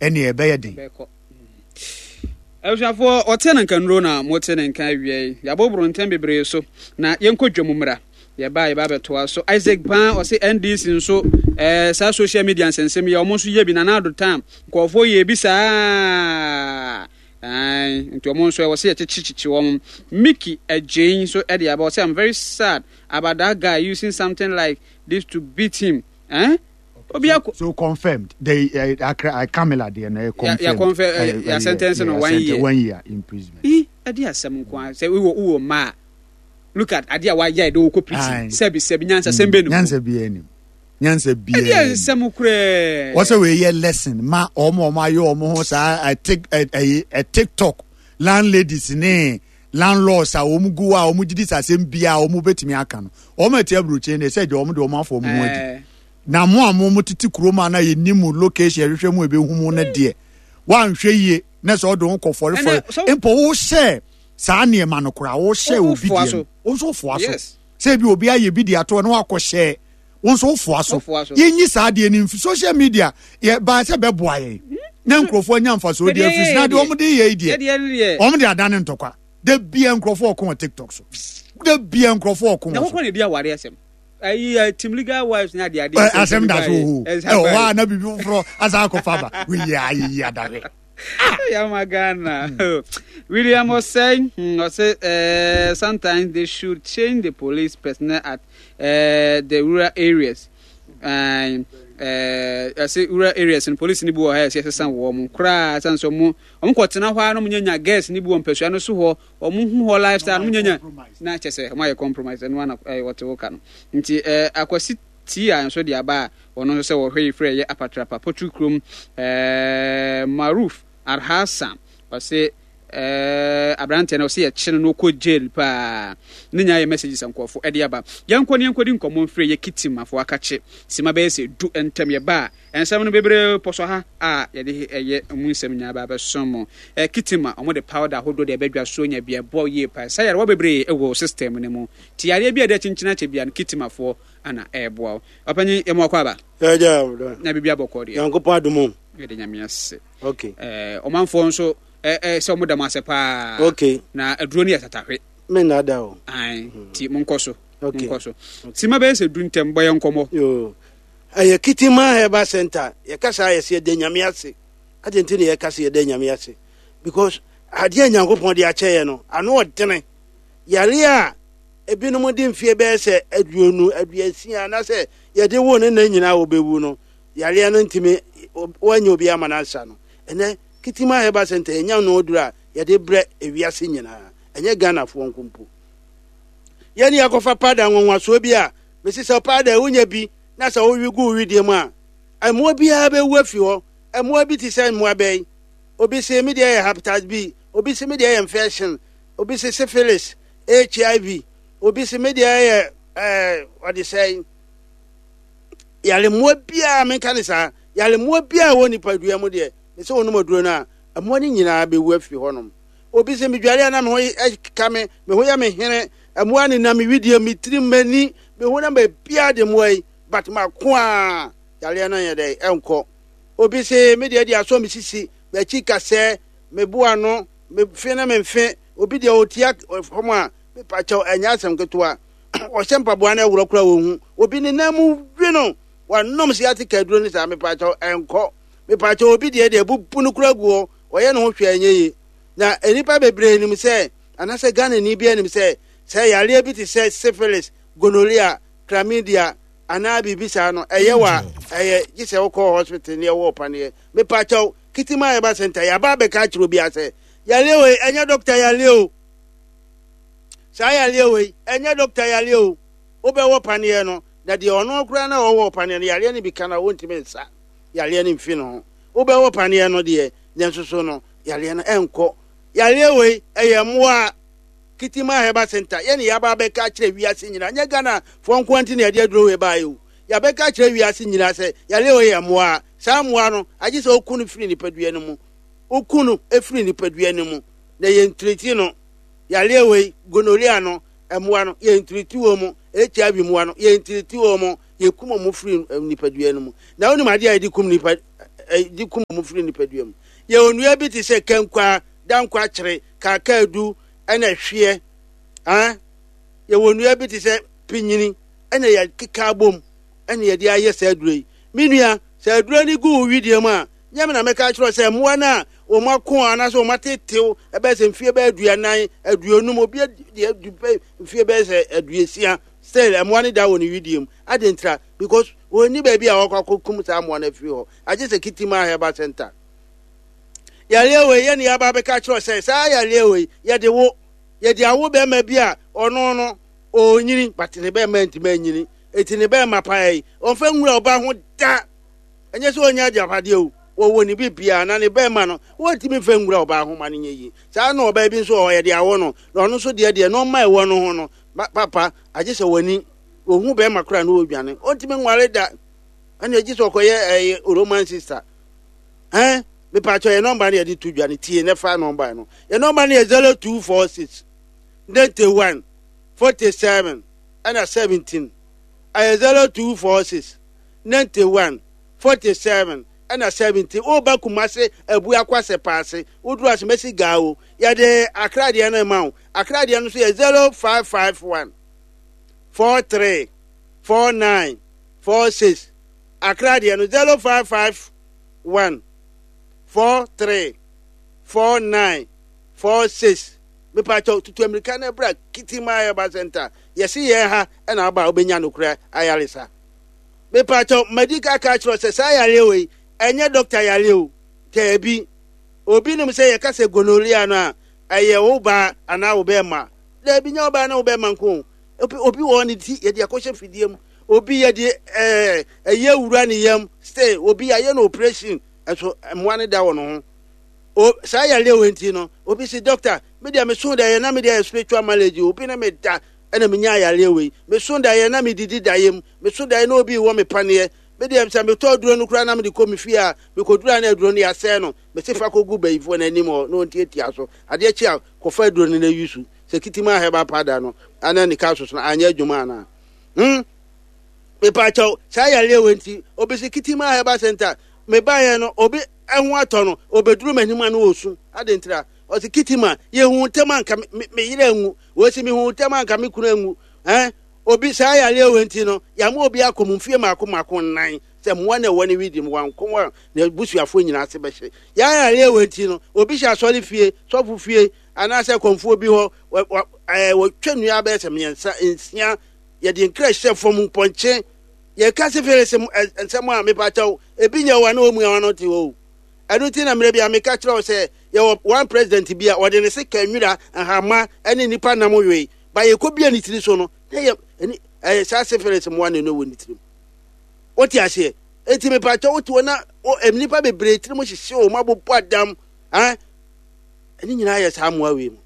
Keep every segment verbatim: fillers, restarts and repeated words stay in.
Ɛne ɛbɛyɛ den. Bɛkɔ. Abusuafoɔ, ɔte ne nka nnuro na mote ne nka awia yi. Yɛaboboro ntɛm bebree so na yɛnkɔ dwam mmra. Yɛba a, yɛba abɛtoa so. Isaac Paa ɔse N D C nso, ɛɛ saa social media nsɛnsɛm yi, ɔmo nso yɛ bi. Nana Addo time nkurɔfoɔ yɛ bi saa. Ae, nti ɔmo nso ɛwɔ sɛ yɛkyekyekyekye wɔn. Mickey Agyein nso ɛde aba, ɔsɛ, "I'm very sad about that guy using something like this to beat him." Eh? Obi akɔ So confirmed the uh, Accra uh, Camilla deɛ no, confirmed. Ya confirm, uh, ya sentence no one year. One year imprisonment. Ii, ɛde asɛm nko a sɛ wowɔ wowɔ mmaa a, look at adeɛ a wayɛ de wokɔ prison. Sɛbi sɛbi, nyansa sɛm bɛ ne mu? Nyansa bi anim, nyansa bi. Ɛde asɛm koraa. Wɔsɛ wei yɛ lesson ma ɔmo ɔmo ayɛ ɔmo ho saa ɛ tik ɛ ɛyi ɛ TikTok landladies ne landlords a wɔn gu hɔ a wɔn gyidi sɛ asɛm bia a wɔn bɛtumi aka no. Wɔn ɛte aburokyire ne sɛ gye wɔn de wɔn afɔ wɔn ho adi. Ɛɛ, na mo a mo mo tete kurom a na yɛnim mo location, yɛhwehwɛ mu ebehu mu no deɛ, wanhwɛ yie na sɛ ɔde ho kɔ fɔrefɔre. Ɛnɛ, so- Mpo wohyɛ saa nneɛma no koraa, wohyɛ Wo- obi wofoa deɛ so. no, wo nso wofoa so. Yes. Sɛ bi obi ayɛ bi de ato na wakɔhyɛ, wo nso wofoa so. Wofoa so. Yɛnyi saa adeɛ no mfi social media. Yɛ baa sɛ bɛboa yɛn na nkurɔfoɔ anya mfasoɔ deɛ afiri so na deɛ wɔn de yɛ yi deɛ, yɛdeɛ no deɛ, wɔn de adane ntɔkwa. Da bia nkurɔfoɔ ɔko wɔ TikTok so, da bia nkurɔfoɔ ɔko na wɔ so. wokɔ ne di aware asɛm ayi ɛ, team legal wives ne adeade. Ɛ, asɛm da so wɔ hɔ, ɛwɔ hɔ a na biribi foforɔ asa akɔfa ba weyi ayeyi adahwɛ. Yama Ghana. William Osei, hmm, ɔse, uh, sometimes they should change the police personnel at uh, the rural areas. Uh, ɛsɛ rural areas no, police ni bi wɔ ha, ɛsɛ ɛsesa wɔ mo koraa, ɛsan sɛ ɔmo ɔmo kɔtena hɔ a na ɔmo nyanya girls ni bi wɔ mpɛsua no so hɔ, ɔmo hu hɔ lifestyle, ɔmo nyanya na kyɛ sɛ ɔmo ayɛ compromise. Ɛno ana ɛyɛ wɔte wo ka no. Nti ɛɛ Akwasi tii a nso de aba a, ɔno nso sɛ wɔhwɛ yi frɛ ɛyɛ Apatrapa Potri kurom, ɛɛ Maruf Arhasan, ɔse ɛɛ aberanteɛ no, ɔse yɛkye no na ɔkɔ jail paa. Ne nyinaa yɛ messages a nkurɔfo ɛde aba. Yɛnkɔ ne yɛnkɔdi nkɔmmɔ mfiri yɛ Kitimafo akakye sima bɛyɛ sɛ du ntɛm. Yɛba a, nsɛm no bebree pɔ so ha a yɛde ɛyɛ mu nsɛm nyinaa ba abɛsom mo. ɛ Kitima, ɔmo de powder ahodoɔ de ɛbɛdwa so nya bi ɛboa yie paa sɛ yarewa bebree ɛwɔ system no mu, nti yareɛ bi a ɛde akyinkyini akyɛ bia no, Kitimafoɔ ana ɛɛboa wo. Ɔpanyin, yɛmu akɔ aba. Ɛgya. Na biribi abɔkɔ deɛ? Nyankopɔn adom o. Yɛde Nyame ase. Okay. ɛɛ ɔmanfoɔ nso ɛ ɛ sɛ ɔmo da mo ase paa. Okay. Na aduro no yɛ tatahwe. Me nna da o. Ae, nti monkɔ so. Okay. Monkɔ so. Sima bɛyɛ sɛ du ntɛm, bɔ yɛ nkɔmmɔ. Yo, ɛyɛ Kitima Herbal Center. Yɛka saa, yɛsɛ yɛda Nyame ase. Ade nti ne yɛka sɛ yɛda Nyame ase because adeɛ a Nyankopɔn de akyɛ yɛ no ano ɔdene. Yare a ebinom de mfie bɛyɛ sɛ aduonu aduasia anaasɛ yɛde wo ne nna nyinaa wɔbɛwu no, yareɛ no ntumi wɔanyɛ obi ama no ansa no, ɛnɛ Kitima Herbal Center yɛnya no aduru a yɛde brɛ ewiase nyinaa, ɛnyɛ Ghanafoɔ nko mpo. Yɛne yɛakɔfa pada nwanwasoɔ bi a mesi sɛ pada wonya bi na sɛ wowe gu wo wedeɛ mu a, mmoa biara bɛwu afi hɔ. Mmoa bi te sɛ mmoa bɛn? Obi se me deɛ yɛ hepatitis B, obi se me deɛ yɛ infection, obi se syphilis, H I V, obi se me deɛ yɛ ɛɛ ɔde sɛn yare mmoa biara. Menka ne saa yare mmoa biara wɔ nipadua mu deɛ, me sɛ wɔnom aduro no a, mmoa no nyinaa bɛwu afiri hɔnom. Obi sɛ medware a na me ho ka me, me ho yɛ me hene, mmoa ne nam me widie, me tirim, m'ani, me ho na baabiara de mmoa yi, but mako a yareɛ no yɛ dɛ ɛnkɔ. Obi se me deɛ de asɔ me sisi, m'akyi kasɛɛ, me boa no, me fe ne me mfe. Obi deɛ ɔtia fam a, mepakyɛw, ɛnyɛ asɛm ketewa, ɔhyɛ mpaboa no ɛworɔ koraa wɔhu. Obi ne nan mu wi no, wanom sciatica aduro no saa, mepakyɛw, ɛnkɔ. Mepakyɛw, obi deɛ deɛ bubu no koraa gu hɔ, ɔyɛ ne ho hwɛ ɛnyɛ yie. Na nnipa bebree nim sɛ, anaasɛ Ghana ni bi anim sɛ sɛ yareɛ bi te sɛ syphilis, gonorrhea, chlamydia anaa biribi saa no ɛyɛ wa ɛyɛ gye sɛ wokɔ hospital ne ɛwɔ paneɛ. Mepakyɛw, Kitima Herbal Center yɛaba abɛka akyerɛ obi asɛ yareɛ wei ɛnyɛ doctor yareɛ o. Saa yareɛ wei ɛnyɛ doctor yareɛ o. Wobɛwɔ paneɛ no na deɛ ɔno koraa na ɔwɔ paneɛ no, yareɛ no bi ka no a, wɔntumi nsa yareɛ no mfi no ho. Wobɛwɔ paneɛ no deɛ, nanso so no yareɛ no ɛnkɔ. Yareɛ wei ɛyɛ mmoa. Kitima Herbal Center, yɛne yɛaba abɛka akyerɛ wiase nyinaa, nyɛ Ghana foɔ nko nti na yɛde aduro wei baeɛ o. Yɛabɛka akyerɛ wiase nyinaa sɛ yareɛ wei yɛ mmoa. Saa mmoa no, agye sɛ woku no firi nipadua no mu, woku no firi nipadua no mu na yɛntiriti no. Yareɛ wei, gonorrhea no, mmoa no yɛntiriti wɔ mu, H I V mmoa no yɛntiriti wɔ mu, yɛkum wɔn firi nipadua no mu. Na wonim adeɛ a yɛde kum nipa de kum wɔn firi nipadua mu. Yɛwɔ nnua bi te sɛ kankwa, dankwakyere, kaakaadu, ɛna hweɛ. Ah, yɛwɔ nnua bi te sɛ pinyini, ɛna yɛkeka abom, ɛna yɛde ayɛ saa aduro yi. Me nua, sɛ aduro no gu wo wedeɛ mu a, nyɛ me na mɛka akyerɛ sɛ mmoa no a wɔn ako anaasɛ wɔn atetew ɛbɛyɛ sɛ mfie bɛyɛ aduanan, aduonum, obi deɛ adu mfie bɛyɛ sɛ aduosia, still mmoa no da wɔ ne wedeɛ mu. Ade ntira, because wɔnni baabi a wɔkɔ akɔkum saa mmoa no afiri hɔ, agye sɛ Kitima Herbal Center. Yareɛ wei yɛne yɛaba bɛka kyerɛ sɛ saa yareɛ wei yɛde wo, yɛde awo bɛrima bi a ɔno no ɔnyini, but ne bɛrima ntumi anyini, eti ne bɛrima paa yi ɔmfa nwura ɔba ho da. Ɛnyɛ sɛ ɔnya agyapadeɛ o, wɔwɔ ne bi biara na ne bɛrima no wɔntumi mfa nwura ɔbaa ho ma no nyɛ yie. Saa na ɔbaa bi nso wɔ hɔ yɛde awo no, na ɔno nso deɛ deɛ nɔɔma ɛwɔ no ho no papa agye sɛ w'ani ohu bɛrima koraa na ɔdwane, ɔntumi nware da, ɛna agye sɛ ɔkɔyɛ ɛyɛ Roman sister. Ɛn mepatwɛ yɛ nɔmba no yɛde to dwa no, tie ne fa nɔmba no. Yɛ nɔmba no yɛ zero two four six ninety one forty seven ɛna seventeen. Ɛyɛ zero two four six ninety one forty seven ɛna seventeen. Woba Kumase Abuakwa Sɛpaase, woduru Asemesi Gaawo, yɛde Accra deɛ no ma wo. Accra deɛ no nso yɛ zero five five one four three four nine four six. Accra deɛ no zero five five one four three four nine four six. Mepatwa tutu Amerika na bra Kitima Herbal Center. Yɛsi yɛn ha ɛna aba a wobɛnya nokorɛ ayaresa. Mepatwa madi ka ka kyerɛ sɛ saa yareɛ wei ɛnyɛ dɔkta yareɛ o, taabi. Obi nim sɛ yɛka sɛ gonorrhea no a ɛyɛ wo baa anaa wo bɛrima. Daabi, nyɛ wo baa na wo bɛrima nko. Obi, obi wɔ ne ti yɛde akɔhyɛ fidie mu. Obi yɛde ɛɛ ɛyɛ wura ne yam. Stay obi ayɛ no operation ɛso mmoa ne da wɔ ne ho. O saa yareɛ wei nti no obi si doctor me deɛ me so da yɛ na me deɛ yɛ spiritual marriage, obi na me da ɛna me nya yareɛ wei. Me so da yɛ na me didi da yam, me so da yɛ na obi wɔ me paneɛ. Me deɛ sɛ metɔ aduro no koraa na me de kɔ me fie a, mekɔduru a na aduro no yɛasɛe no, me se fa kɔgu bayifoɔ n'anim hɔ na ɔntiatia so. Adeɛ kye a kɔfa aduro no na yi so. Sɛ Kitima Herbal Powder no ana ne ka soso no anyɛ adwuma anaa? Hmm? Mepaakyɛw, saa yareɛ wei nti obi si Kitima Herbal Center mebaeɛ no obi ɛho atɔ no, obɛduru m'anim a na ɔsu. Ade ntira ɔsi Kitima yɛhu ntɛm anka me yerɛ anwu, wɔsi mehu ntɛm anka me kunu anwu. Eh? Obi saa yareɛ wei nti no yɛama obi akɔ mu mfie mako mako nnan sɛ mmoa na ɛwɔ ne widi mu wanko a na busuafoɔ nyinaa ase bɛhye. Yɛa yareɛ wei nti no obi hyɛ asɔre fie, sɔfo fie anaasɛ kɔmfoɔ bi hɔ, wɔtwa nnua bɛyɛ sɛ mmiɛnsa nsia, yɛde nkra hyɛ fam mpɔnkye. Yɛka syphilis nsɛm a mepakyɛw ebi nyɛ wɔ na wɔn mu a wɔn te hɔ o. Ɛno nti na mmerɛ bi a meka kyerɛ wo sɛ yɛwɔ one president bi a ɔde ne sika nwira nhama ne nipa nam wei ba yɛkɔ bia ne tiri so no na yɛ ɛni ɛyɛ saa syphilis mmoa na ɛno wɔ ne tirim. Wote aseɛ? Eti mepakyɛw wote hɔ na nnipa bebree tirim hyehyɛ wɔn abobɔ adam, ɛn ɛne nyinaa yɛ saa mmoa wei mu.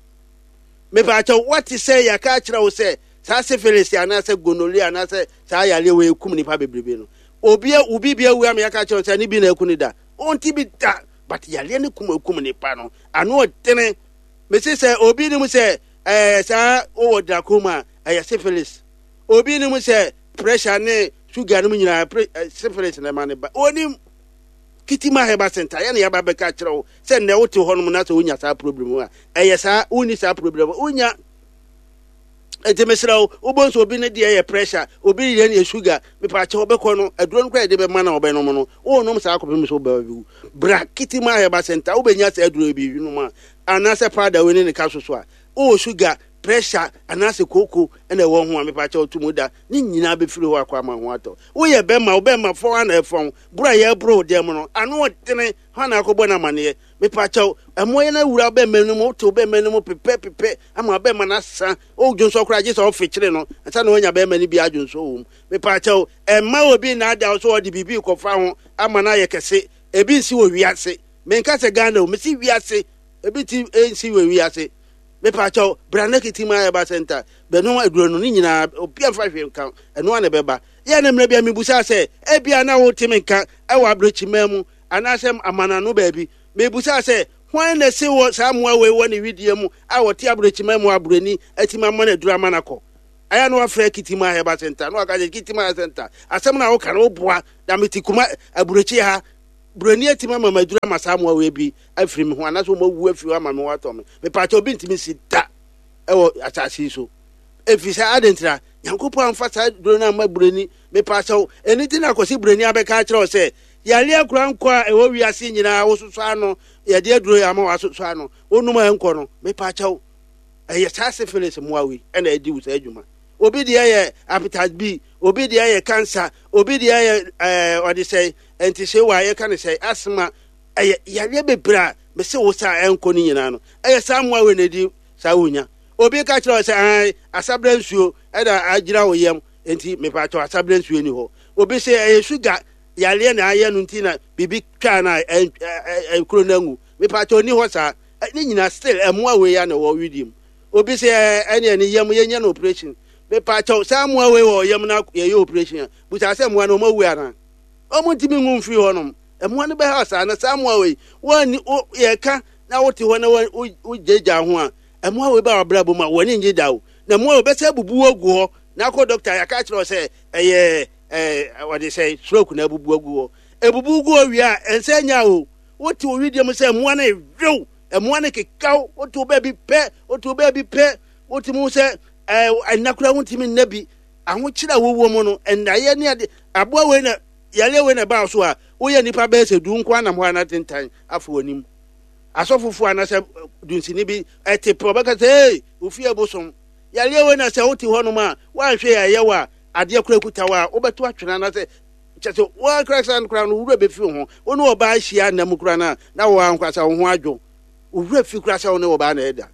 Mepakyɛw wote sɛ yɛaka akyerɛ wo sɛ saa syphilis anaasɛ gonorrhea anaasɛ saa yareɛ wei kum nipa bebrebe no, obi obi bi awu ama yɛaka akyerɛ wo sɛ ne bi na aku ne da, ɔnti bi da, but yareɛ ne kum akum nipa no ano ɔdene. Mese sɛ obi nim sɛ ɛɛ saa wowɔ glaucoma ɛyɛ syphilis, obi nim sɛ pressure ne sugar no mu nyinaa syphilis na ɛma ne ba, onim. Kitima Herbal Center yɛne yɛaba bɛka kyerɛ wo sɛ nnɛ wote hɔnom na sɛ wonya saa problem a ɛyɛ saa, wonni saa problem wonya. Enti mesrɛ wo, wobɔ nso obi ne deɛ yɛ pressure, obi deɛ yɛ sugar, mepaakyɛ wobɛkɔ no aduro no koraa yɛde bɛma na wɔbɛnom no, wonom saa kɔpem sɛ wobɛba bi wu. Bra Kitima Herbal Center, wobɛnya saa aduro bi nom a, anaasɛ powder wei ne ne ka so so a, wowɔ sugar, pressure, anaasɛ kooko ɛna ɛwɔ ho a, mepaakyɛ woto mu da, ne nyinaa bɛfiri hɔ akɔ ama ho atɔ. Woyɛ bɛma, wo bɛma fɔn ana ɛfɔn, boro a yɛboro dɛm no, ano ɔdene, hɔ na akɔbɔ no amanneɛ. Mepaakyɛw, ɛmmoa yɛn awura bɛma no mu, wote bɛma no mu pepɛ pepɛ, ama bɛma no asa, wodwonsɔ koraa gye sɛ ɔfekyere no, ansa na wanya bɛma no bi adwonsɔ wɔ mu. Mepaakyɛw, ɛmma obi nnaadaa wo sɛ ɔde biribi kɔfa ho ama no ayɛ kɛse. Ebi nsi wɔ wiase. Menka sɛ Ghana o, mesi wiase. Ebi ti nsi wɔ wiase. Mepaakyɛw, bra na Kitima Herbal Center, bɛnom aduro no ne nyinaa, obi amfa hwee nka, ɛno a na ɛbɛba. Yɛ na mmerɛ bi a mebusa sɛ, ebia na wote me nka ɛwɔ aborɔkyima mu, anaasɛ amanano baabi. Mebusa sɛ, hwan na se wɔ saa mmoa wei wɔ ne wedeɛ mu a wɔte aborɔkyima mu aborɔni atumi ama no aduro ama no akɔ? Ɛyɛ na wafrɛ Kitima Herbal Center na waka sɛ Kitima Herbal Center, asɛm na woka no woboa na mete kuma aborɔkyi ha, Buroni atumi ama maduru ama saa mmoa wei bi afiri me ho anaasɛ wɔn awu afiri hɔ ama me ho atɔ me. Mepaakyɛ, obi ntumi si da ɛwɔ asase yi so, ɛfiri sɛ adɛn ntira Nyankopɔn amfa saa duro no amma buroni? Mepaakyɛw, ɛno nti na akɔsi buroni abɛka akyerɛ wo sɛ yareɛ kora nkɔ a ɛwɔ wiase nyinaa wososɔ ano, yɛde aduro yɛ ama wasosɔ ano, wonom a ɛnkɔ no. Mepaakyɛw, ɛyɛ saa syphilis mmoa wei ɛna ɛdi wo saa adwuma. Obi deɛ yɛ hepatitis B, obi deɛ yɛ cancer, obi deɛ yɛ ɛɛ ɔde sɛ ntihyewa a yɛka ne sɛ asthma. Ɛyɛ yareɛ bebree a mese wo saa ɛnkɔ no nyinaa no, ɛyɛ saa mmoa wei na ɛdi saa wonya. Obi ka kyerɛ wo sɛ ɛn asabrɛ nsuo ɛna agyina wo yam, nti mepaakyɛw, asabrɛ nsuo ni hɔ. Obi sɛ ɛyɛ sugar yareɛ na ayɛ no nti na biribi twaa no a ɛkuro no angu. Mepaakyɛw, ni hɔ saa. Ne nyinaa still ɛmmoa wei ya na ɛwɔ widie mu. Obi sɛ ɛne ɛne yam yɛnyɛ no operation. Mepaakyɛw, saa mmoa wei wɔ yam na yɛyɛ operation a, busa sɛ mmoa no ɔmo awu anaa? Ɔmo ntumi ngu mfiri hɔnom. Mmoa no bɛha saa na saa mmoa wei wɔn yɛka na wote hɔ na wogyagya ho a, mmoa wei ba wabrabɔ mu a wɔne ngye da o, na mmoa wei bɛsɛ abubu agu hɔ na akɔ dɔkta yɛaka kyerɛ sɛ ɛyɛ ɛɛ wɔde sɛ stroke na abubu agu hɔ. Ebubu gu hɔ wie a, ɛnsɛ nya o. Wote wo widie mu sɛ mmoa no ewew, mmoa no kekaw. Wote wo baabi pɛ, wote wo baabi pɛ, wote mu sɛ ɛɛ ɛnna koraa wontumi nna bi. Ahokyere a wowɔ mu no, ɛnnaeɛ ne ade aboa wei na yareɛ wei na ɛbaa so a, woyɛ nipa bɛyɛ sɛ du nko anam hɔ ana tentan afɔ w'anim. Asɔfofoɔ anaasɛ dunsini bi ɛte pɛ, ɔbɛka sɛ, "Ee, ofie bosom yareɛ wei." Na sɛ wote hɔnom a woanhwɛ yɛ ɛyɛ wɔ a, adeɛ kora kuta wɔ a, wobɛto atwene anaasɛ kyɛ sɛ woakora sa no kora no, wowura bɛfi wo ho. Wo ne ɔbaa hyia nna mu kora no a, na wɔwɔ ankwasa wo ho adwo, wowura fi kora sɛ wo ne ɔbaa na ɛda.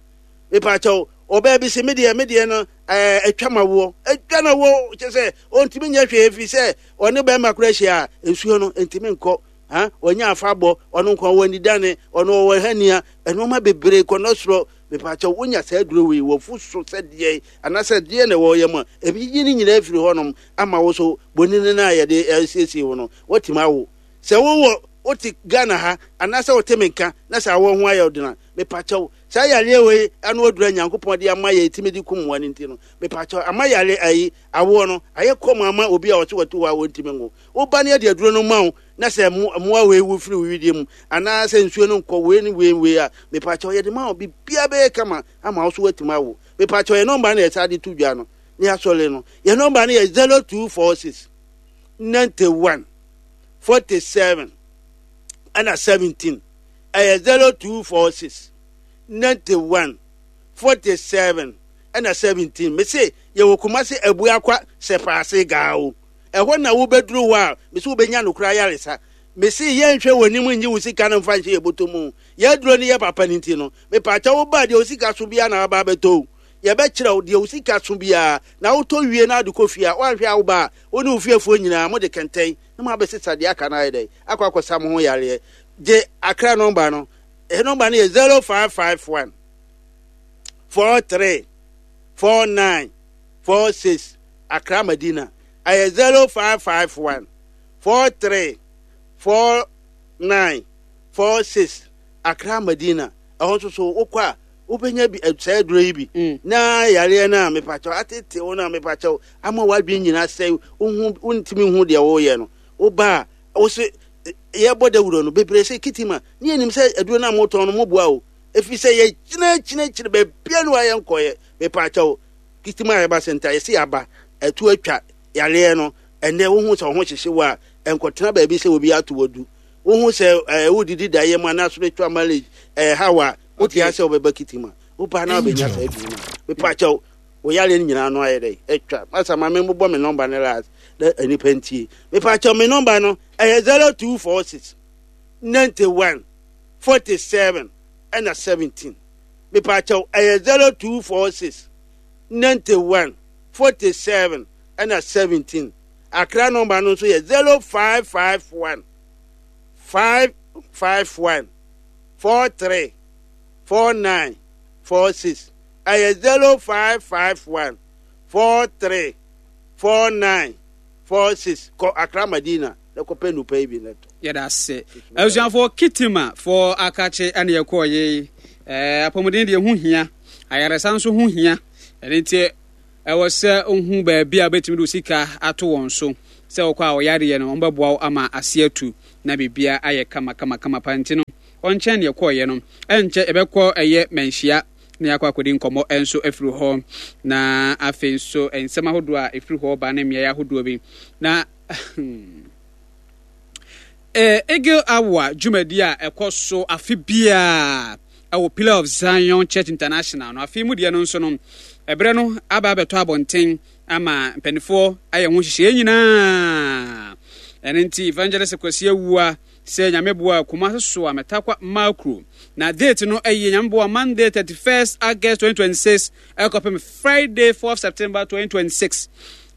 Mepakyɛw, ɔbaa bi sɛ medeɛ medeɛ no ɛɛ atwa ma woɔ, atwa na woɔ, kyɛ sɛ ɔntumi nyɛ hwee fi sɛ ɔne bɛrima kora hyia a, nsuo no ntumi nkɔ ha, ɔnyɛ afa bɔ ɔno nkɔ wɔ anidane, ɔno ɔwɔ hania, ɛnneɛma bebree kɔ no soro. Mepakyɛw, wonya saa aduro wei wɔfu so sɛ deɛ anaasɛ deɛ na ɛwɔ yɛ mu a, ebi yi ne nyinaa firi hɔnom ama wo so bonini no a yɛde asiesie wo no, watumi awo. Sɛ wowɔ wote Ghana ha anaasɛ wote me nka na sɛ awɔ ho ayɛ ɔdena, mepakyɛw, saa yareɛ wei ano adura Nyankopɔn de ama yɛ timi de kum mmoa no nti no, mepakyɛw, ama yare ayi awoɔ no ayɛ kɔm ama obi a ɔte wɔte hɔ a wɔntumi nwo. Woba ne yɛde aduro no ma wo na sɛ mmoa wei wu firi wo widie mu anaasɛ nsuo no nkɔ wei ne wei wei a, mepakyɛw, yɛde ma wo, biribiara bɛyɛ kama ama wo so woatumi awo. Mepakyɛw, yɛ nɔmba no yɛsa de to dwa no ne asɔre no, yɛ nɔmba no yɛ zero two four six ninety one forty seven ɛna seventeen. Ɛyɛ zero two four six ninety one forty seven ɛna seventeen. Mese yɛwɔ Kumase Abuakwa Sɛpaase Gaawo, ɛhɔ na wobɛduru hɔ a, mese wobɛnya no koraa yaresa. Mese yɛnhwɛ w'anim nye wo sika no mfa nhyɛ yɛ bɔtɔ mu. Yɛaduro no yɛ papa no nti no, mepaakyɛ, wo ba deɛ wo sika so biara na waba abɛtɔ o, yɛbɛkyerɛ wo deɛ wo sika so biara na wotɔ wie na ade kɔ fie a, woanhwɛ a, wo ba a wo ne wo fiefoɔ nyinaa mode kɛntɛn na mo abɛsesa deɛ aka no ayɛ dɛ akɔ akɔsa mo ho yareɛ. Gye Akra nɔmba no, ɛ nɔmba no yɛ zero five five one four three four nine four six. Akra Madina ɛyɛ zero five five one four three four nine four six. Akra Madina ɛhɔ nso so wokɔ a, wobɛnya bi saa aduro yi bi Mm. na yareɛ no a mepakyɛw atete wo no a, mepakyɛw, ama w'adwene nyinaa sɛ wohu wontumi hu deɛ woyɛ no. Woba a, wo se yɛbɔ dawuro no bebree sɛ kitima ne yɛnim sɛ aduro no a motɔn no moboa o, ɛfiri sɛ yɛgyina kyinakyina baabia no a yɛnkɔyɛ. Mepakyɛw, kitima a yɛba sɛnta yɛsɛ yɛaba ɛto atwa yareɛ no. Ɛnɛ wohu sɛ wo ho hyehye wo a, ɛnkɔtena baabi sɛ obi ato wadu. Wohu sɛ ɛɛ wodidi da yɛ mu anaa spiritual marriage ɛɛ haw a wote Okay. asɛ wobɛba kitima, woba na wobɛnya saa aduro no a, mepakyɛw, wo yareɛ no nyinaa no ayɛ dɛ atwa. Masa ma me mobɔ me nɔmba no last na nipa ntie. Mepakyɛw, me nɔmba no ɛyɛ zero two four six ninety one forty seven ɛna seventeen. Mepakyɛw, ɛyɛ zero two four six ninety one forty seven ɛna seventeen. Akra nɔmba no nso yɛ zero five five one five five one four three four nine four six. Ɛyɛ zero five five one four three four nine four six. Kɔ Akra Madina na kɔpɛ nupa yi bi na tɔ. Yɛda ase, abusuafoɔ. Kitima foɔ akakye ɛne yɛkɔɔ yei. ɛɛ apɔmuden deɛ ho hia, ayaresa nso ho hia. Ɛne nti ɛwɔ sɛ ohu baabi a wobɛtumi de wo sika ato wɔn so sɛ wɔkɔ a, ɔyareɛ no wɔbɛboa wo ama ase atu. Na Na biribiara ayɛ kama kama kama pa. Nti no ɔnkyɛn deɛ kɔɔyɛ no, ɛnkyɛ ɛbɛkɔ ɛyɛ Manhyia na yɛakɔ akɔdi nkɔmmɔ nso afiri hɔ, na afei nso nsɛm ahodoɔ a ɛfiri hɔ ba ne mmeaeɛ ahodoɔ bi. Na eh, Eagle Hour dwumadi a ɛkɔ so afe biara ɛwɔ Pillar of Zion Church International no, afe mu deɛ no nso no, ɛberɛ no aba abɛtɔ abɔnten ama mpanimfoɔ ayɛ ho nhyehyɛeɛ nyinaa. Ɛno nti Evangelist Kwasi Awua sɛ Nyame boa, Kumase so a Mɛtakwa Makro, na date no ɛyɛ, Nyame boa, Monday thirty-first August twenty twenty-six ɛkɔpem Friday fourth September twenty twenty-six.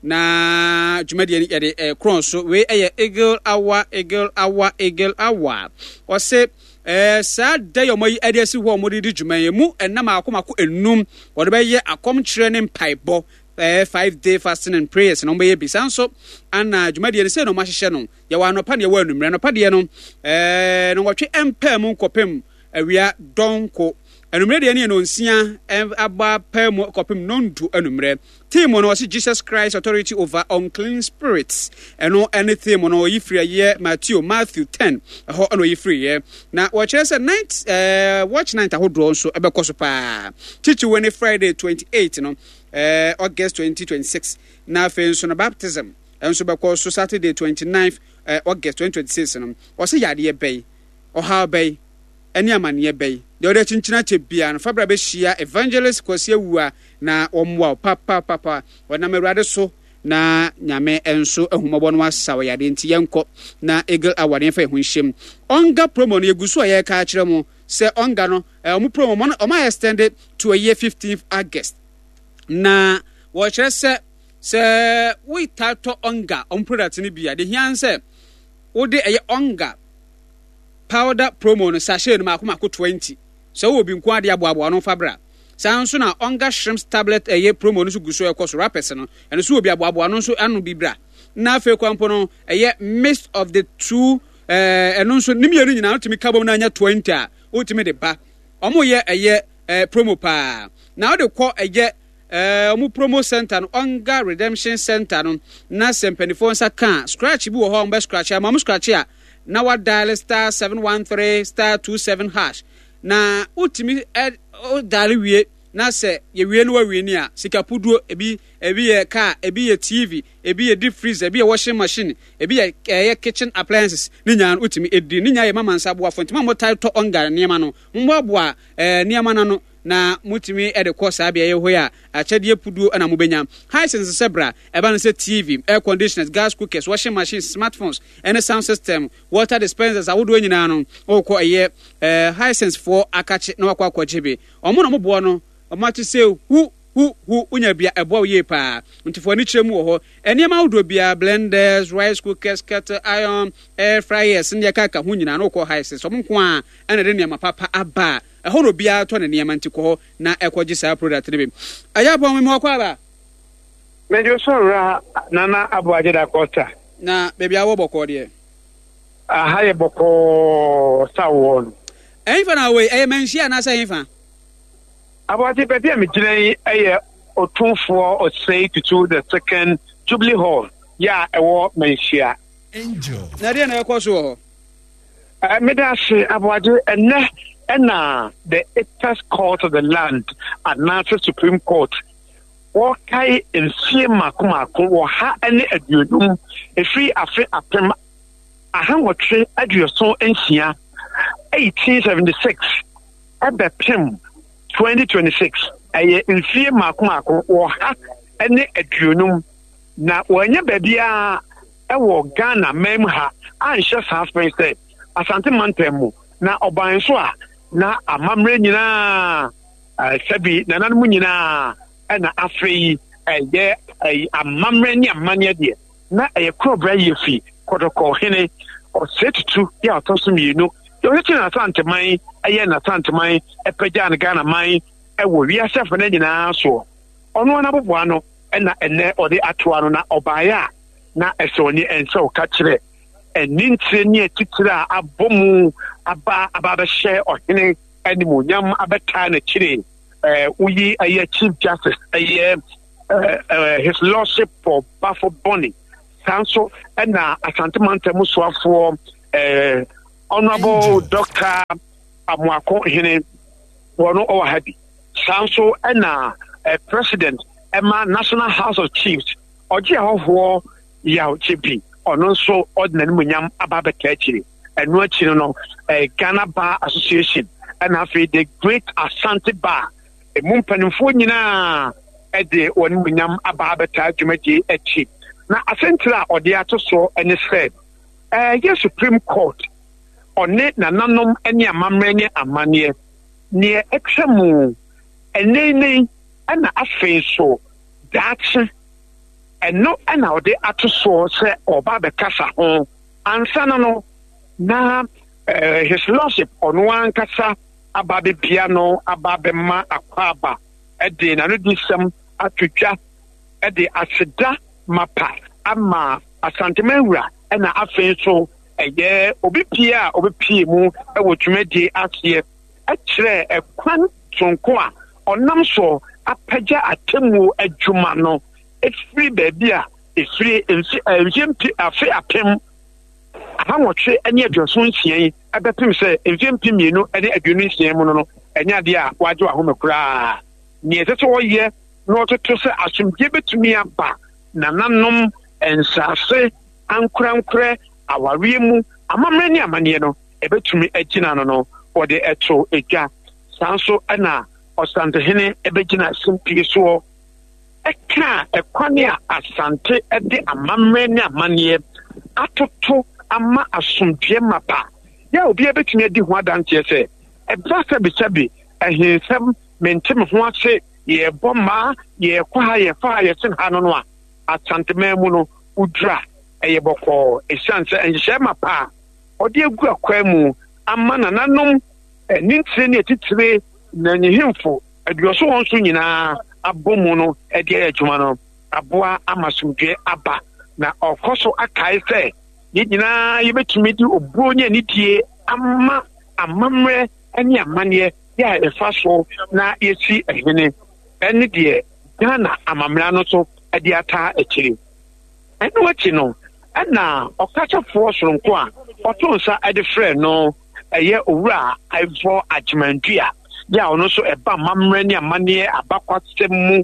Na dwumadie no yɛde ɛkorɔn so. Wei ɛyɛ Eagle Hour, Eagle Hour, Eagle Hour. Ɔse ɛɛ saa da yi ɔmo yi ɛde asi hɔ a ɔmo de di dwuma yi mu ɛnam mako mako enum, wɔde bɛyɛ akɔmkyerɛ ne mpaebɔ, ɛɛ five day fasting and prayers na ɔmo bɛyɛ bi. Saa nso ana dwumadie no sɛ na ɔmo ahyehyɛ no, yɛwɔ anɔpa ne yɛwɔ anummerɛ. Anɔpa deɛ no ɛɛ no wɔtwe mpaa mu nkɔpem awia dɔnko. Anummerɛ deɛ no yɛ nonsia aba paa mu kɔpem nondu anummerɛ. Theme no, ɔse "Jesus Christ Authority over Unclean Spirits". Ɛno ɛne theme no. Ɔyi firi ɛyɛ Matthew Matthew ten ɛhɔ ɛna ɔyi firi yɛ. Na wɔkyerɛ sɛ night ɛɛ watch night ahodoɔ nso ɛbɛkɔ so paa. Titiriw ne Friday twenty eight no, ɛɛ August twenty twenty-six. Na afei nso no baptism ɛnso bɛkɔ so Saturday twenty-nine ɛɛ August twenty twenty-six no. Ɔsɛ yadeɛ bɛyi, ɔhaw bɛyi, ɛne amanneɛ bɛyi deɛ ɔde akyinkyini akyɛ bia no, fabra bɛhyia Evangelist Kwasi Awua na wɔmmoa wo papapapa. Ɔnam Awurade so na Nyame nso ahumɔbɔ no asa wɔ yadeɛ. Nti yɛnkɔ na Eagle Hour ne yɛmfa yɛn ho nhyɛm. Ɔnga promo no yɛgu so a yɛreka akyerɛ mo sɛ ɔnga no, ɔmo promo ɔmo ayɛ extended to ɛyɛ fifteenth August. Na wɔkyerɛ sɛ sɛ wotaa tɔ ɔnga ɔmo product no bi a, de hia sɛ wode ɛyɛ ɔnga powder promo no sachet no mako mako twenty. Sɛ wowɔ bi nko ade aboaboa no fa bra. Saa nso na ɔnga shrimps tablet ɛyɛ promo no nso gu so ɛkɔ so, wrappers no, ɛno nso wɔ bi aboaboa no nso ano bi bra. Na afei kwan mpo no ɛyɛ mix of the two, ɛɛ ɛno nso ne mmienu nyinaa wotumi ka bom na anya twenty a, wotumi de ba. Ɔmo yɛ ɛyɛ ɛɛ promo paa na wode kɔ ɛyɛ ɛɛ ɔmo promo center no, Ɔnga Redemption Center no. Na sɛ mpanimfoɔ nsa ka scratch bi wɔ hɔ a, ɔmo bɛ scratch ama ɔmo. Scratch a, na wa dial star seven one three star two seven hash na wotumi ɛ o dial wie. Na sɛ yɛwie no wawie ni a, sika puduo ebi, ebi yɛ car, ebi yɛ T V, ebi yɛ deep freezer, ebi yɛ washing machine, ebi yɛ ɛyɛ kitchen appliances ne nyinaa no wotumi edi ne nyinaa. Yɛ mama nsa aboafo ntoma mo tae tɔ ɔnga nneɛma no, mmoaboa ɛɛ nneɛma no ano na motumi de kɔ saa beaeɛ hɔ yi a, akyɛdeɛ puduo na mobɛnya. Hisense sɛ bra ɛba no sɛ T V, air conditioners, gas cookers, washing machines, smartphones ɛne sound system, water dispensers ahodoɔ nyinaa no, wokɔ ɛyɛ ɛɛ Hisense foɔ akakye na wakɔ akɔgye bi. Ɔmo na ɔmo no ɔmo ate sɛ hu hu hu wonya bia ɛboa wo yie paa. Nti fo ani kyerɛ mu wɔ hɔ. Nneɛma ahodoɔ biara, blenders, rice cookers, kettle iron, air fryers ne yɛkaka ho nyinaa no, wokɔ Hisense, ɔmo nko a ɛna de nneɛma papa aba a ɛhɔ na obiara tɔ ne nneɛma. Nti kɔ hɔ na ɛkɔgye saa product no bi. Ɛyɛ apɔn mi ɔkɔ aba. Mɛdwo so wura Nana Aboagye da Costa. Na baabi a wɔ bɔkɔɔ deɛ? Aha yɛ bɔkɔɔ sa wɔ no. Ɛhefa na wɔ yi? Ɛyɛ Manhyia anaasɛ ɛhefa? Aboagye, baabi a megyina yi yɛ Otumfoɔ Osei Tutu the Second Jubilee Hall yɛ a ɛwɔ Manhyia. Na ɛdeɛ na ɛkɔ so wɔ hɔ? Meda ase, Aboagye. Ɛnɛ ɛna the apex court of the land anaasɛ Supreme Court wɔkae mfie mako mako wɔ ha ne aduonum ɛfiri afe apem ahanwɔtwe aduɔson nsia, eighteen seventy-six, ɛbɛpem twenty twenty-six. Ɛyɛ mfie mako mako wɔ ha ne aduonum na wɔanya baabiara ɛwɔ Ghana man mu ha anhyɛ saa fɛn sɛ Asante mantam mu. Na ɔban so a na amammerɛ nyinaa, sɛbi nananom nyinaa, ɛna afei ɛyɛ ɛyɛ amammerɛ ne amanneɛ deɛ na ɛyɛ korɔbra yie fi Kɔtɔkɔ hene Ɔsɛ Tutu yɛ a ɔtɔ so mmienu deɛ ɔhyehyɛ n'Asanteman, ɛyɛ n'Asanteman ɛpɛgya ne Ghana man ɛwɔ wiase afa no nyinaa soɔ. Ɔno ara n'aboboa no ɛna ɛnɛ ɔde atoa no. Na ɔbaeɛ a na ɛsɛ ɔne ɛnsɛ ɔka kyerɛ ɛne ntire ne atitire a abɔ mu aba aba abɛhyɛ ɔhene animuonyam abɛtaa n'akyire. ɛɛ woyi ɛyɛ Chief Justice, ɛyɛ ɛɛ ɛɛ His Lordship Paul Baffoe Bonnie, saa nso ɛna Asante mantam soafoɔ eh, Honorable Doctor Amoako Hene, wɔn ɔwɔ ha bi. Saa nso ɛna eh, President ɛma National House of Chiefs, ɔgye ahɔhoɔ Yaw Gyebi, ɔno nso ɔde n'animuonyam aba abɛka akyire. Ɛno akyi no, eh, Ghana Bar Association ɛna afei the Great Asante Bar emu mpanimfoɔ nyinaa ɛde wɔn animuonyam aba abɛtaa dwumadie akyi. Na asɛntire a ɔde ato soɔ ne sɛ ɛyɛ Supreme Court ɔne nananom ne amammerɛ ne amanneɛ neɛ ɛtwa mu ɛnɛnɛi ɛna afei nso daakye, ɛno ɛna ɔde ato soɔ sɛ ɔba abɛkasa ho. Ansa no no na eh, His Lordship ɔno ankasa aba abɛbia no, aba abɛma akwaaba, ɛde n'anodisɛm ato dwa, ɛde aseda mapa ama Asanteman wura, ɛna afei nso ɛyɛ obi pie a obɛpie mu ɛwɔ dwumadie aseɛ, ɛkyerɛ ɛkwan sonko a ɔnam so apagya atemmuo adwuma no ɛfiri baabi a ɛfiri mfie mpe afe apem ahanwɔtwe ne aduɔson nsia yi ɛbɛpem sɛ mfie mpem mmienu ne aduonu nsia mu no no ɛnyɛ adeɛ a wagye wahome koraa. Nea ɛsɛ sɛ ɔyɛ na ɔtoto sɛ asomdwe bɛtumi aba nananom nsaase ankorankorɛ awareɛ mu amammerɛ ne amanneɛ no ɛbɛtumi agyina no no wɔde ɛto edwa. Saa nso ɛna Ɔsantehene ɛbɛgyina simpie soɔ ɛka ɛkwan a Asante ɛde amammerɛ ne amanneɛ atoto ama asomdwe mapa yɛ obiara bɛtumi adi ho adanseɛ sɛ ɛba sɛbesɛbe ɛhensɛm mente me ho ase yɛbɔ mmaa yɛkɔ ha yɛfa ha yɛsen ha no no a Asanteman mu no wodura ɛyɛ bɔkɔɔ ɛsiane sɛ nhyehyɛe mapa a ɔde agu akwan mu ama nananom ne ntire ne atitire na nyehemfo aduɔso wɔn so nyinaa abɔ mu no de ayɛ adwuma no aboa ama asomdwe aba. Na ɔkɔ so akae sɛ yɛn nyinaa yɛbɛtumi de obuo ne anidie ama amammerɛ ne amanneɛ yɛ a ɛfa so na yɛsi ɛhene ɛne deɛ Ghana amammerɛ no so de ataa akyiri. Ɛno akyi no ɛna ɔkasafoɔ soronko a ɔto nsa de frɛ no ɛyɛ Owura Ivor Agyeman-Duah yɛ a ɔno nso ɛba amammerɛ ne amanneɛ abakwasɛm mu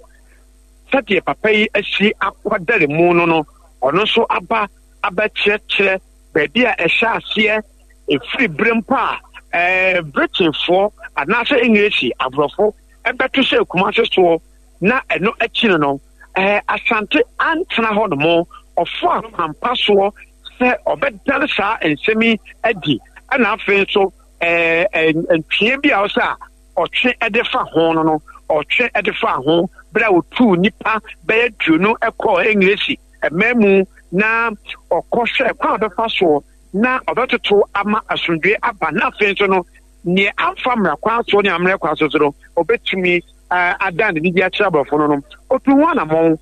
sɛdeɛ papa yi asi akwadare mu no no ɔno nso aba abɛkyerɛkyerɛ baabi a ɛhyɛ aseɛ ɛfiri berɛ mpo a ɛɛ Britainfoɔ anaasɛ English aborɔfo ɛbɛto sɛ Kumase soɔ na ɛno akyi no no ɛɛ Asante antena hɔ nom ɔfo akwampa soɔ sɛ ɔbɛdane saa nsɛm yi adi ɛna afei nso ɛɛ ntwea bi a ɔsɛ a ɔtwe ɛde fa ho no no ɔtwe ɛde fa ho bere a otuu nipa bɛyɛ duonu ɛkɔɔ English ɛmɛn mu na ɔkɔhwɛ kwan a ɔbɛfa soɔ na ɔbɛtoto ama asomdwe aba na afei nso no nea amfa mmara kwan soɔ ne ammerɛ kwan so so no ɔbɛtumi adan ne didi akyerɛ aborɔfo no no otu ho anammɔn.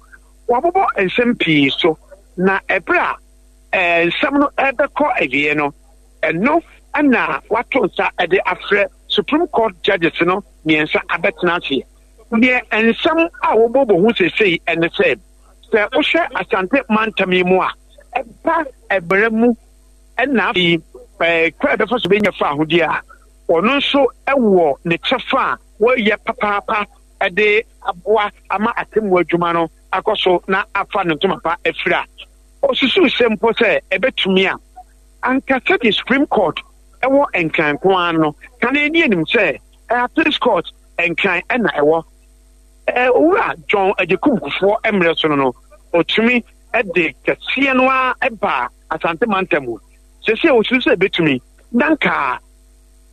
Wɔabobɔ nsɛm pii so na ɛberɛ a nsɛm no ɛbɛkɔ awie no ɛno ɛna wato nsa ɛde afrɛ Supreme Court judges no mmiɛnsa abɛtena aseɛ. Neɛ nsɛm a wɔbɔbɔ ho seesei ɛne sɛ sɛ wohwɛ Asante mantam yi mu a ɛba ɛberɛ mu ɛna afei kwan a ɛbɛfa so bɛnya fa ahodie a ɔno nso ɛwɔ ne kyɛfa a wɔyɛ papaapa ɛde aboa ama atemmu adwuma no akɔ so na afa ne ntoma pa afiri a osusuw sɛ mpo sɛ ɛbɛtumi a anka sɛdeɛ Supreme Court ɛwɔ Nkran nko ara no kane ani anim sɛ Appeals Court Nkran ɛna ɛwɔ Owura John Agyekum Kufuor mmerɛ so no no ɔtumi ɛde kɛseɛ no ara ɛbaa Asante mantam mu. Sɛsɛ osusu sɛ ɛbɛtumi na nka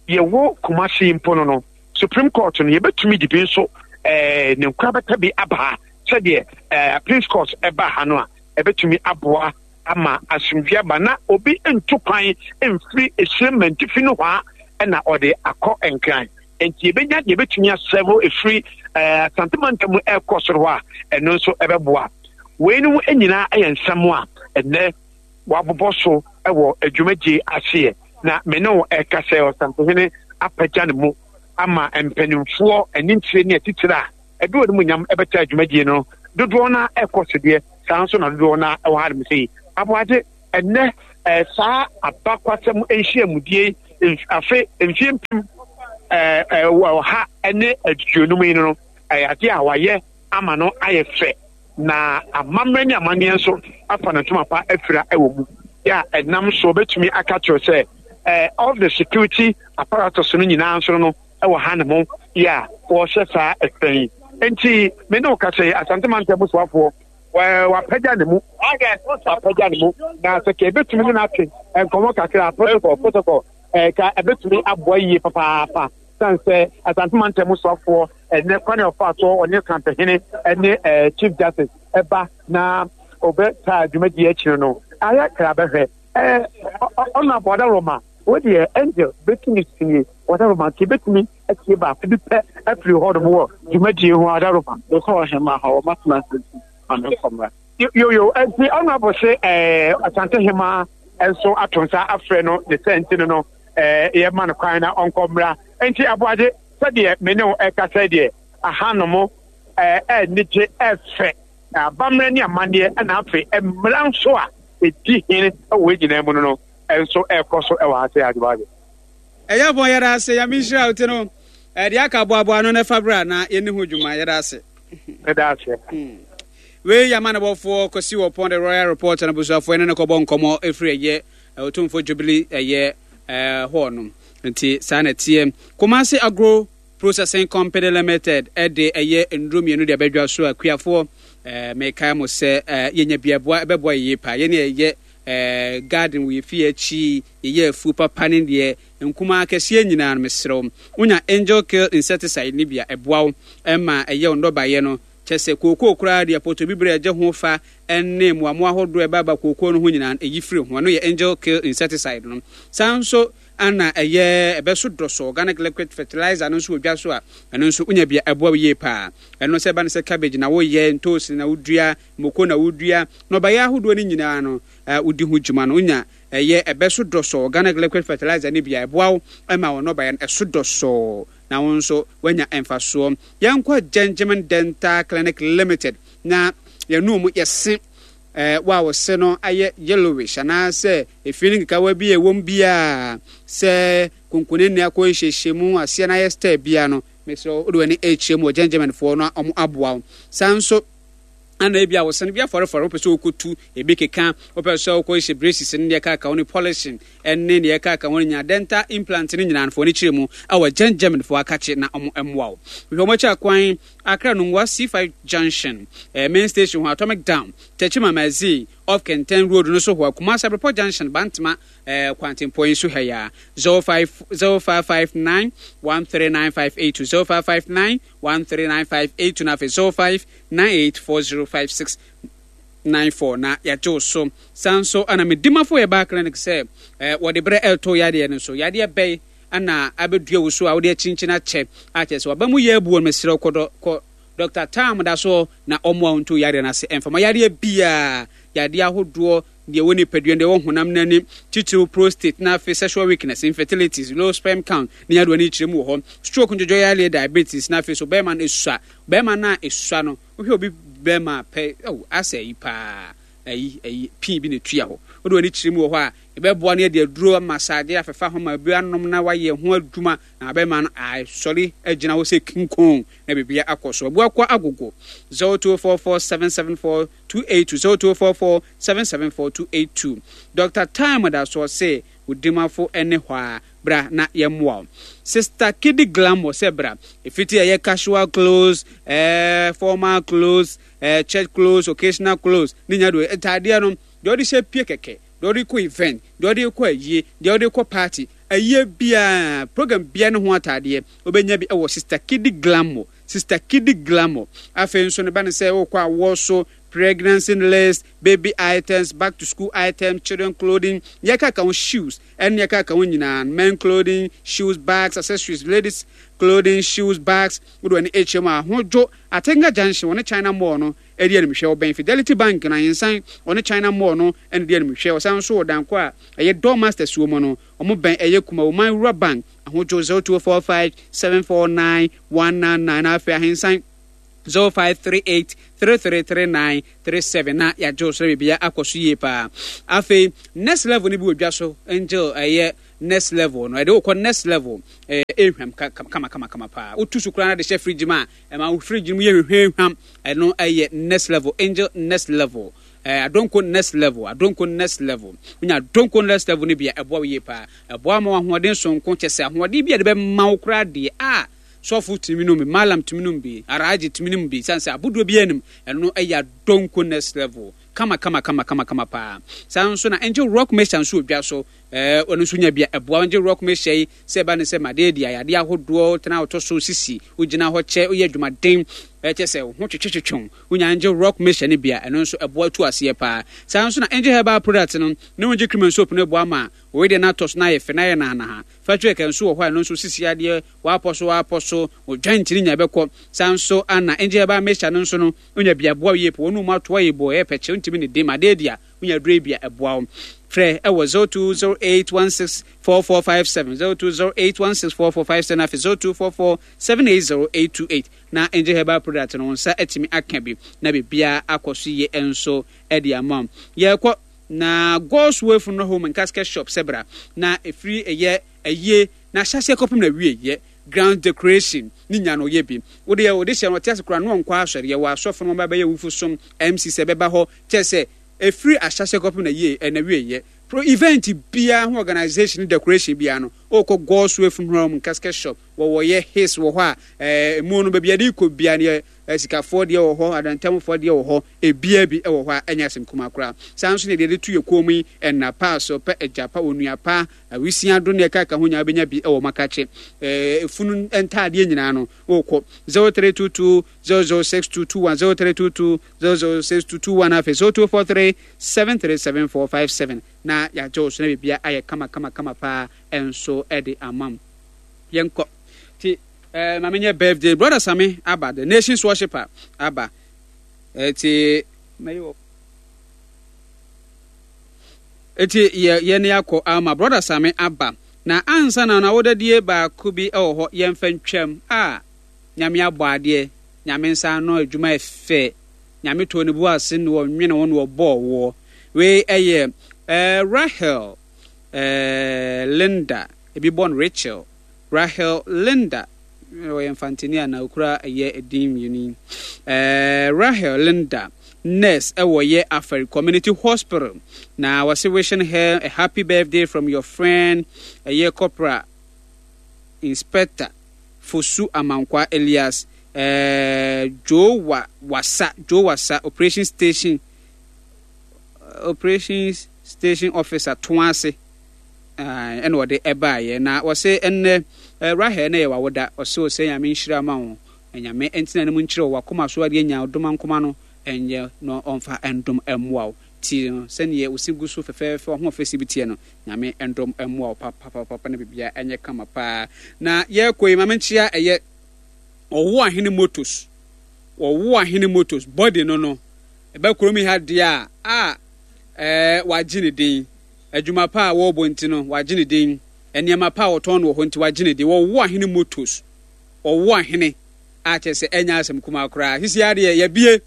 yɛwɔ Kumasi mpo no no Supreme Court no yɛbɛtumi de bi nso ɛɛ ne nkorabata bi aba ha sɛdeɛ ɛɛ Appeals Court ɛba ha no a ɛbɛtumi aboa ama asomdwe aba na obi nto kwan mfiri esiem mantifi no hɔ a ɛna ɔde akɔ Nkran. Nti yɛbɛnya deɛ yɛbɛtumi asɛvo efiri ɛɛ Asante mantam mu ɛrekɔ soro hɔ a ɛno nso ɛbɛboa. Weinom nyinaa yɛ nsɛm a ɛnɛ wabobɔ so ɛwɔ adwumadie aseɛ na me ne wo ɛka sɛ Ɔsantehene apagya ne mu ama mpanimfoɔ anintire ne atitire a ɛde wɔn mu nyam ɛbɛta adwumadie no dodoɔ no ɛkɔ so deɛ saa nso na dodoɔ no ɛwɔ ha nom sɛ yi aboagye ɛnɛ ɛɛ saa abakwasɛm nhyiamudie afe mfie mpem ɛɛ ɛɛ ɔha ne aduonum yi no ɛyɛ adeɛ a wayɛ ama no ayɛ fɛ na amammerɛ ne amanneɛ nso afa ne ntoma pa afira wɔ mu yɛ a ɛnam so bɛtumi aka kyerɛ sɛ ɛɛ all the security apparatus no nyinaa nso no ɛwɔ ha ne mo yɛ a wɔhyɛ saa ɛfɛn yi nti me ne wo kasa yi Asante mantam soafoɔ wapagya ne mu wapagya ne mu na sɛ ka ebetumi ne n'ate nkɔmɔ kakra protocol protocol ɛɛ ka ebetumi aboa yie papaapa san sɛ Asante mantam soafoɔ ɛnɛ kwan a ɔfa so ɔne kampɛhene ɛne ɛɛ Chief Justice ɛba na ɔbɛ taa dwumadie akyire no ayɛ kra bɛhwɛ ɛɛ ɔno abɔ ɔda wo deɛ Angel bɛtumi sie ɔda nti bɛtumi atie baako bi pɛ afiri hɔ nom wɔ dwumadie ho ɔda roma. Mekɔ ɔhema hɔ ɔmatena ase ame nkɔmmra. Yoyo nti ɔno abɔ se ɛɛ Asante hema nso ato nsa afrɛ no ne sɛ nti no no ɛɛ yɛma no kwan na ɔnkɔ mmra nti aboagye sɛdeɛ me ne wo ɛkasa deɛ ahanom ɛɛ ɛnigye ɛfɛ abammerɛ ne amanneɛ ɛna afei mmara nso a ɛdi hene ɛwɔ nyinaa mu no no nso ɛkɔ so ɛwɔ ha sɛ adwuma. Ɛyɛ bɔn yɛda ase Nyame nhyira wo ti no ɛde aka boaboa no ne fa bra na yɛni ho dwuma yɛda ase. Yɛda ase. Wei yɛ amanebɔfoɔ kɔsi wɔ pɔn de Royal Report na busuafoɔ ne ne kɔbɔ nkɔmmɔ ɛfiri ɛyɛ Otumfoɔ Jubilee ɛyɛ hɔ no nti saa na ɛteɛ. Kumasi Agro Processing Company Limited ɛde ɛyɛ nnuro mmienu de abɛdwa so a kuafoɔ mekae mo sɛ yɛnya biaboa ɛbɛboa yie paa yɛne ɛyɛ garden wɔ yɛfie akyi yɛyɛ afuo papa ne deɛ nkumaa kɛseɛ nyinaa no mesrɛ wo wonya Angel Kill insecticide ne bia ɛboa wo ɛma ɛyɛ wo nnɔbaeɛ no kyɛ sɛ kookoo koraa deɛ pɔtɔ bibire ɛgye ho fa ɛne mmoamoa ahodoɔ ɛbaaba kookoo no ho nyinaa ɛyi firi ho ɛno yɛ Angel Kill insecticide no. Saa nso ana ɛyɛ ɛbɛso dɔsɔ organic liquid fertilizer no nso wɔ dwa so a ɛno nso wonya bia ɛboa wo yie paa ɛno sɛ ɛba no sɛ cabbage na woyɛ ntoosi na wodua moko na wodua na ɔbayɛ ahodoɔ no nyinaa no wodi ho dwuma no wonya ɛyɛ ɛbɛso dɔsɔ organic liquid fertilizer no bia ɛboa wo ɛma wɔn nnɔbaeɛ no ɛso dɔsɔ na wo nso woanya mfasoɔ. Yɛnkɔ Gentleman Dental Clinic Limited na yɛn mu yɛse ɛɛ wo a wɔse no ayɛ yellowish anaasɛ efi ne nkekawa bi a ɛwɔ mu biara sɛ konkone ne akɔ nhyehyɛ mu aseɛ no ayɛ style biara no mesrɛ wode w'ani ɛkyerɛ mu wɔ Gentlemanfoɔ no a ɔmo aboa wo. Saa nso ana ebi a wɔsɛn bi afɔrefɔre wopɛ sɛ wokɔtu ebi keka wopɛ sɛ wokɔ hyɛ braces ne deɛ ɛkaka ho ne polishing ɛne deɛ ɛkaka ho ne nyinaa dental implant ne nyinaa foɔ ne kyerɛ mu ɛwɔ Gentlemanfoɔ akakye na ɔmo mmoa wo. Hwehwɛ ɔmo akyi akwan Accra Nungua C five Junction eh, main station ho Atomic Dam Techiman Mazi off Kenten Road no so hɔ Kumasi Abrepɔ Junction Bantama eh, Kwantempɔn yi so ha ya zero five zero five five nine one three nine five eight two zero five five nine one three nine five eight two na afei zero five nine eight four zero five six nine four na yɛgye wo so. Saa nso ana medimafo yɛ baa clinic sɛ eh, wɔde berɛ ɛreto yadeɛ no so yadeɛ bɛyi ana abɛdua wo so a wode akyinkyini akyɛ akyɛ sɛ waba mu yɛ abuo no mesrɛ kɔ kɔ Doctor Tam da so na ɔmmoa wo nto yadeɛ no ase ɛmfama yadeɛ biaa yadeɛ ahodoɔ deɛ wɔ nipadua deɛ wɔ honam n'ani titiriw prostate na afei sexual weakness, infertility, low sperm count ne yadeɛ no kyerɛ mu wɔ hɔ, stroke, ndwodwo yadeɛ, diabetes na afei so bɛrima no esua bɛrima no a esua no wohwɛ obi bɛrima pɛ oh asɛ ayi paa ayi ayi pii bi na etua hɔ wode w'ani kyerɛ mu wɔ hɔ a ɛbɛboa no yɛde aduro massage afɛfa ho ma bi anom na wayɛ ho adwuma na bɛrima no asɔre agyina hɔ sɛ kinkon na biribiara akɔ so. Abuakɔ agogo zero two four four seven seven four two eight two zero two four four seven seven four two eight two. Doctor Time da so ɔse odimafo ne hɔ a bra na yɛmmoa wo. Sister Kidi Glamour sɛ bra efiti ɛyɛ casual clothes, eh, formal clothes, eh, church clothes, occasional clothes ne nya do ntaadeɛ no deɛ ɔde hyɛ pie kɛkɛ deɛ ɔde kɔ event deɛ ɔde kɔ ayie deɛ ɔde kɔ party ayie biara program biara ne ho ataadeɛ wobɛnya bi ɛwɔ Sister Kidi Glamour. Sister Kidi Glamour afei nso ne ba ne sɛ wokɔ awɔ so pregnancy list, baby items, back to school items, children clothing, yɛka ka ho shoes ɛne yɛka ka ho nyinaa men clothing, shoes, bags, accessories, ladies clothing, shoes, bags wode w'ani ɛkyerɛ mu a ahodwo Atenga Junction wɔne China Mall no ɛdi animhwɛ wɔbɛn Fidelity Bank na ahensan wɔne China Mall no ɛne di animhwɛ ɔsan nso wɔ danko a ɛyɛ Door Masters wɔ mu no ɔmo bɛn ɛyɛ Kumawoman Rural Bank ahodwo zero two four five seven four nine one nine nine afei ahensan zero five three eight three three three nine three seven na yɛagye wo so na biribiara akɔ so yie paa. Afei next level no bi wɔ dwa so, Angel, ɛyɛ next level no, ɛde wokɔ next level, ɛyɛ ehwam kama kama kama paa. Wotu so koraa na de hyɛ fridge mu a, ɛma wo fridge no mu yɛ hwehwɛhwam. Ɛno ɛyɛ next level, Angel next level. Eh, Adonko next level, Adonko next level. Wonya Adonko next level no bi a, ɛboa wo yie paa. Ɛboa ma wo ahoɔden sononko, kyɛ sɛ ahoɔden bi a ɛde bɛma wo koraa deɛ a sɔfo tumi nom bi, malam tumi nom bi, araagye tumi nom bi, sane sɛ abodoɔ biara nim. Ɛno ɛyɛ Adonko next level. Kama kama kama kama kama paa. Saa nso na Angel Rock Mixture nso wɔ dwa so. Ɛɛ, ɔno nso nya bi a ɛboa. Angel Rock Mixture yi, sɛ ɛba ne sɛ madeɛ di ayadeɛ ahodoɔ, tena wotɔ so sisi, wogyina hɔ kyɛ, woyɛ adwumaden, ɛkyɛ sɛ wo ho twetwetwetwe wo, wonya Angel Rock Mixture no bi a, ɛno nso ɛboa tu aseɛ paa. Saa nso na Angel Herbal Product no, ne Angel Cream and Soap no boa ma wo wedeɛ no atɔ so na ayɛ fɛ na ayɛ nahanaha. Factory kɛkɛ nso wɔ hɔ a ɛno nso sisi adeɛ, woapɔ so woapɔ so, wo joint no nya ɛbɛkɔ. Saa nso na Angel Herbal Mixture no nso no, wonya bi a ɛboa wo yie paa. Wɔn mu atoa yɛ bɔ, ɛyɛ pɛkyɛ, wontumi ne de ma adeɛ di a, wonya aduro yi bi a ɛboa wo. Frɛ ɛwɔ zero two zero eight one six four four five seven, zero two zero eight one six four four five seven, afei zero two four four seven eight zero eight two eight na Angel Herbal Product no wo nsa atumi aka bi na biribiara akɔ so yie nso de ama wo. Yɛrekɔ na God's Way Funeral Home and Casket Shop sɛ bra na ɛfiri ɛyɛ ayie na ahyɛaseɛ kɔpem na wie yɛ ground decoration ne nya no yɛ bi. Wo deɛ wode hyɛ no ɔte ase koraa no ɔnkɔ asɔre. Yɛwɔ asɔfo no wɔn bɛyɛ awufo som M C sɛ bɛba hɔ kyɛ sɛ ɛfiri ahyɛaseɛ kɔpem na yie na wie yɛ pro event biara ho organisation ne decoration biara no wokɔ God's Way Funeral Home and Casket Shop, wɔwɔ yɛ his wɔ hɔ a ɛmu no baabi yɛde kɔ biara no yɛ sikafoɔ deɛ wɔ hɔ, adantamfoɔ deɛ wɔ hɔ, ebia bi wɔ hɔ a ɛnyɛ asɛm kumaa koraa. Saa nso na deɛ yɛde to yɛ kɔn mu yi, ɛna pa, so pɛ, agya pa, onua pa, awisia do ne ɛka ka ho nyinaa bɛnya bi wɔ makakye. Efunu ntaadeɛ nyinaa no wokɔ zero three two two zero zero six two two one, zero three two two zero zero six two two one, afei zero two four three seven three seven four five seven na yɛagye wo so na biribiara ayɛ kama kama kama paa nso de ama wo. Yɛnkɔ ti ɛɛ maame nyɛ birthday brother Sami aba, the nation's worshipper aba ɛti mɛyi wɔ eti yɛ yɛ ne akɔ ama brother Sami aba na ansa na na wodadie baako bi wɔ hɔ yɛmfa ntwam a Nyame abɔ adeɛ, Nyame nsa ano adwuma ɛfɛ, Nyame tɔɔ ne bu ase na ɔnwene wo na ɔbɔɔ woɔ. Wei ɛyɛ ɛɛ Rahel ɛɛ Linda, ebi bɔ no Rachel, Rahel Linda, ɔyɛ mfantini a na okura ɛyɛ edin mmienu yi. Ɛɛ Rahel Linda, nurse ɛwɔ yɛ Afari Community Hospital, na wɔsi wishing her a happy birthday from your friend ɛyɛ Corporal Inspector Fosu Amankwa Elias ɛɛ Joe Wa Wasa Joe Wasa, Operation Station Operations Station Officer Toase, ɛna ɔde ɛbaayɛ na wɔse ɛnnɛ Rahel na yɛ wawoda. Ɔse ɔsɛ Nyame nhyira ma wo, Nyame ɛntena ne mu nkyerɛ wo wakoma so adeɛ nya ɔdoma nkoma no ɛnyɛ na ɔmfa ɛndom ɛmmoa wo ti no sɛneɛ wosi gu so fɛfɛɛfɛ ɔho ɔfɛsi bi teɛ no. Nyame ɛndom ɛmmoa wo papapapa na bibia ɛnyɛ kama paa. Na yɛkɔ yi, ma menkyea ɛyɛ Ɔwo Ahene Motors, Ɔwo Ahene Motors body no no ɛbɛ kurom yi ha deɛ a a ɛɛ wagye ne din. Adwuma pa a wɔrebɔ nti no wagye ne din, nneɛma pa a wɔtɔn no wɔ hɔ nti wagye ne din. Ɔwo Ahene Motors, Ɔwo Ahene a kyerɛ sɛ ɛnyɛ asɛm kumaa koraa. Sisi adeɛ yɛbie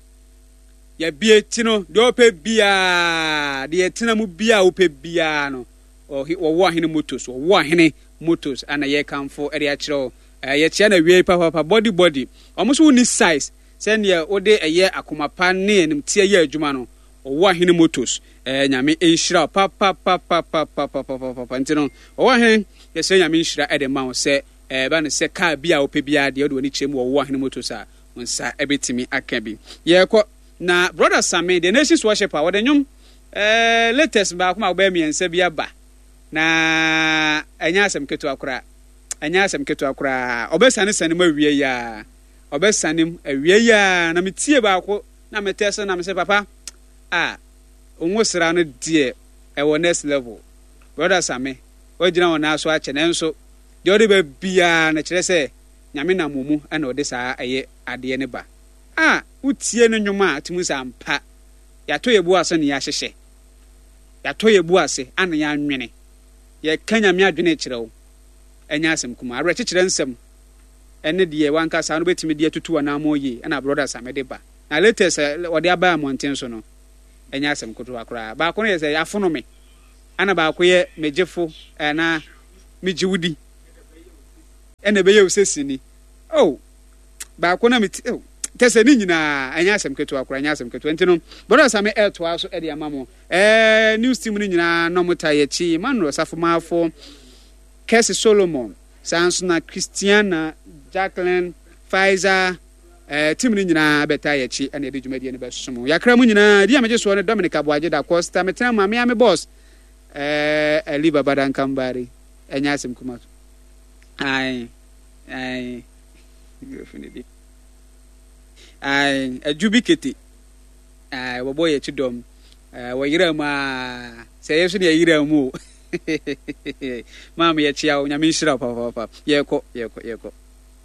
yɛbie ti no deɛ ɔpɛ biara, deɛ ɛtena mu biara wopɛ biara no, Ɔwo Ahene Motors, Ɔwo Ahene Motors ana yɛkamfo ɛde akyerɛ wo. Yɛkyea no awiei papaapa. Body body ɔmo nso wonni size sɛdeɛ wode ɛyɛ akoma pa ne animteɛ yɛ adwuma no. Ɔwo Ahene Motors, ɛɛ Nyame nhyira wo papapapapapapapapa. Nti no Ɔwo Ahene, yɛsrɛ Nyame nhyira ɛde ma wo sɛ ɛba no sɛ car bi a wopɛ biara deɛ wode w'ani kyerɛ mu wɔ Ɔwo Ahene Motors a, wo nsa ɛbɛtumi aka bi. Yɛkɔ na brother Same, the nation's worshipper, wɔde nnwom ɛɛ latest baako ma wobɛyɛ mmiɛnsa bi aba na ɛnyɛ asɛm ketewa koraa, ɛnyɛ asɛm ketewa koraa. Ɔbɛsane sane mu awie yi a, ɔbɛsane mu awie yi a, na metie baako na metɛ so na mesɛ papa a onwo sra no deɛ ɛwɔ next level. Brother Same, wagyina wɔn nan so akyɛ, nanso deɛ ɔde ba biara no kyerɛ sɛ Nyame nam wɔ mu ɛna ɔde saa ɛyɛ adeɛ no ba a wotie no nnwom a tumi sɛ ampa yɛatɔ yɛ bu ase na yɛahyehyɛ, yɛatɔ yɛ bu ase ana yɛanwene, yɛka Nyame adwene kyerɛ wo. Ɛnyɛ asɛm kuma, awerɛkyekyerɛ nsɛm Ɛne deɛ wankasa no bɛtumi de atutu anammɔn yie ɛna Brother Same de ba. Na latest a ɔde aba mmɔnten so no, ɛnyɛ asɛm ketewa koraa. Baako no yɛ sɛ yɛafono me, ɛna baako yɛ megyefo anaa megye wo di, ɛna ɛbɛyɛ wo sɛ sini. Oh, baako na meti, oh, kyɛ sɛ ne nyinaa ɛnyɛ asɛm ketewa koraa, ɛnyɛ asɛm ketewa. Nti no, Brother Same ɛretoa so de ama mo. Ɛɛ, news team no nyinaa na wɔn taa yɛ akyi, Emmanuel Safomafo, Kɛse Solomon, saa nso na Christiana, Jacqueline, Faiza, eh, team no nyinaa bɛtaa yɛn akyi ɛna yɛde dwumadie no bɛsom. Yɛakra mu nyinaa, di a megye soɔ ne Dominic Aboagye da Costa, metena mu a mea me boss, eh, Ali Babada Nkambari, ɛnyɛ asɛm kuma so. Ae, ae, ae, adwu bi kete. Ae, wɔbɔ yɛn akyi dɔm. Ae, wɔyera mu aa. Sɛ yɛn nso ne yɛyera mu o. Maame yɛkyea wo, Nyame nhyira wo papaapa. Yɛkɔ, yɛkɔ, yɛkɔ.